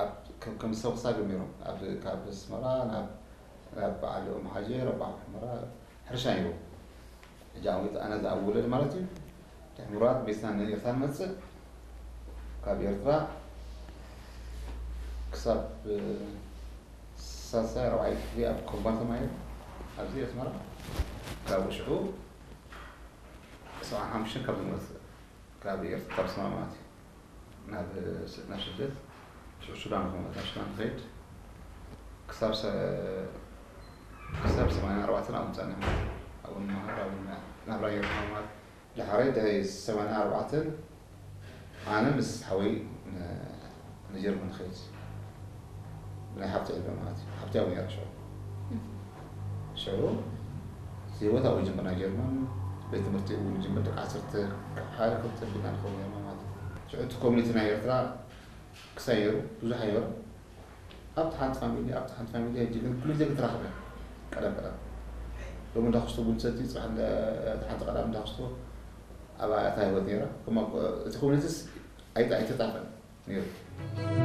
ኣብ ከም ከም ሰብሳ ገሚሮም ኣብ ካብ ኣስመራ ናብ ናብ በዓል ኦም ሓጀር ኣብ በዓል ሑመራ ሕርሻ ነይሩ። ሕጂ ዓመት ኣነ ዝኣብ ውለድ ማለት እዩ። ድሕሪ ምርዋት ቤትና ንኤርትራ ንመጽእ ካብ ኤርትራ ክሳብ ሳልሳይ ራብዓይ ክፍሊ ኣብ ኮምባል ተማሂረ ኣብዚ ኣስመራ ካብ ሽዑ ሰብዓ ሓሙሽተ ካብ ዝመጽእ ካብ ኤርትራ ካብ ኣስመራ ማለት እዩ ናብ ናብ ስደት ሽዑ ሱዳን ክመ ናብ ሱዳን ክኸይድ ክሳብ ክሳብ ሰማንያ ኣርባዕተ ኣብኡ ጸኒሐ ኣብኡ መሃር ኣብኡ ናብራ ጌርና ማለት ድሓረይ ድሕሪ ሰማንያ ኣርባዕተ ኣነ ምስ ሓወይ ንጀርመን ንኸይድ ብናይ ሓብቲ ዕድመ ማለት እዩ ሓብቲ ኣብኡ ነይራ ሽዑ ሽዑ ህይወት ኣብኡ ጀምር ናይ ጀርመን ቤት ትምህርቲ እውን ጀምር ደቂ ዓሰርተ ሓደ ክልተ ቢልና ንኸውን ጀርመን ማለት እዩ ሽዑ እቲ ኮሚኒቲ ናይ ኤርትራ ክሳይ ነይሩ ብዙሕ ኣይነበረ ኣብቲ ሓንቲ ፋሚሊ ኣብቲ ሓንቲ ፋሚሊ ሕጂ ግን ኩሉ ግዜ ክትራኸብ እያ ቀደም ቀደም ሎሚ እንዳክስቶ ቡን ትሰቲ ፅባሕ ሓንቲ ቀዳም እንዳክስቶ ኣብ ኣታ ህይወት ነይራ እቲ ኮሚኒቲስ ኣይተጣፈን ነይሩ